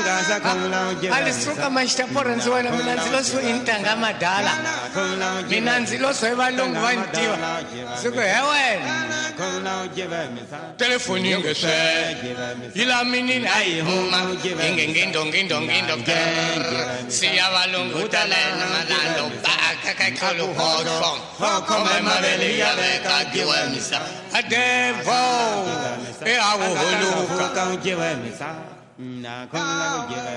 A lisuka maxitapora ndzi wena mina ndzi lo swo intanga madala mina ndzi lo swo valungu va ni tiva ndzi ku he wena telefoni yi nge swe yi la minini a yi huma yi nge ngindo ngindo ngindo siya valungu talena malando bakakakhaluhoxo khome mavele ya veka giwemisa adevo eawuhuluka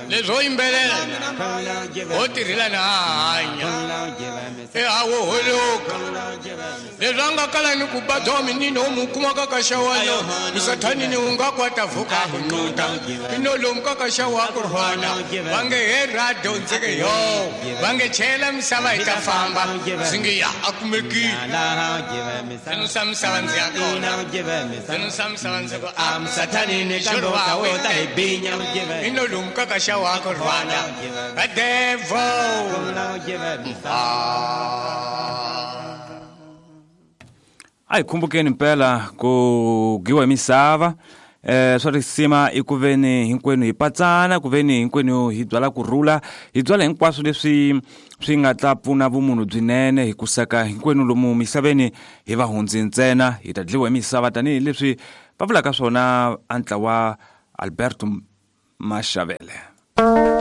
leswo yimbelela ho tirhela na hanya eawuhuluka leswi a nga kala ni ku ba domi nini o mu kuma ka ka xawano musathanini wu nga kwata vuka ku ncuta ino lomu ka ka xawa ku rhwana va nge he radio ndzi ke yo va nge chela misava yi ta famba ndzi nge ya a kumekile ndzi misava ndzi ya kona ndzi misava ndzi ku a musathanini kambe u ta wo ta hi binya ino lomu ka ka xawa ku rhwana adevo A hi khumbukeni mpela ku giwa hi misava swa risima i ku veni hinkwenu hi patsana ku veni hinkwenu hi byala kurhula hi byala hinkwaswo leswi swi nga ta pfuna vumunhu byinene hi kusaka hinkwenu lomu misaveni hi vahundzi ntsena hi ta dliwa hi misava tanihileswi va vulaka swona a ntlawa Alberto Mashavele.